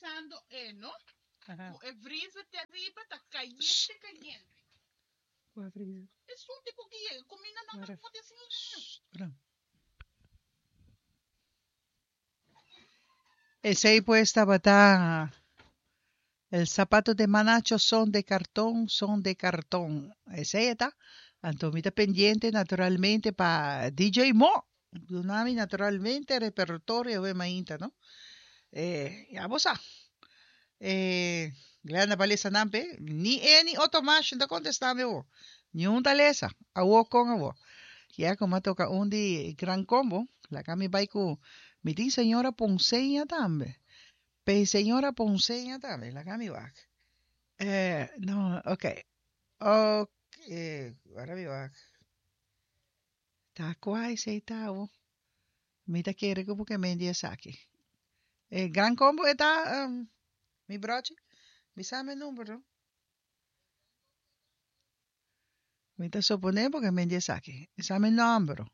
bisando e no ku e vriezer te ariba ta kayente kayente. Kua vriezer? Esun tipo ki yega kuminda nan ta poti asina. Esei pues tabata El zapato de Manacho son de cartón, son de cartón. Esei e ta. Anto mi ta pendiente naturalmente pa DJ Mo. Duna mi naturalmente repertorio awe mainta, no? Eh, ya bo sa. Eh, Glenda pa lesa nan p'e. Ni e ni Otto Mash no ta contesta mi awo. Niun ta lesa. Awo con awo. Ya como a toca un di Gran Combo, laga mi bai cu mi tin señora Ponceña tambe. Pe señora Ponceña tambe, laga mi wak. Eh, no, ok. Ok, wara mi wak. Ta cua esey ta awo? Mi ta kere cu bo ke mendi esaki. E Gran Combo e ta, um, mi brochi? Bisa mi e number no. Mi ta suponé bo ke mendi esaki. Bisa mi nomber.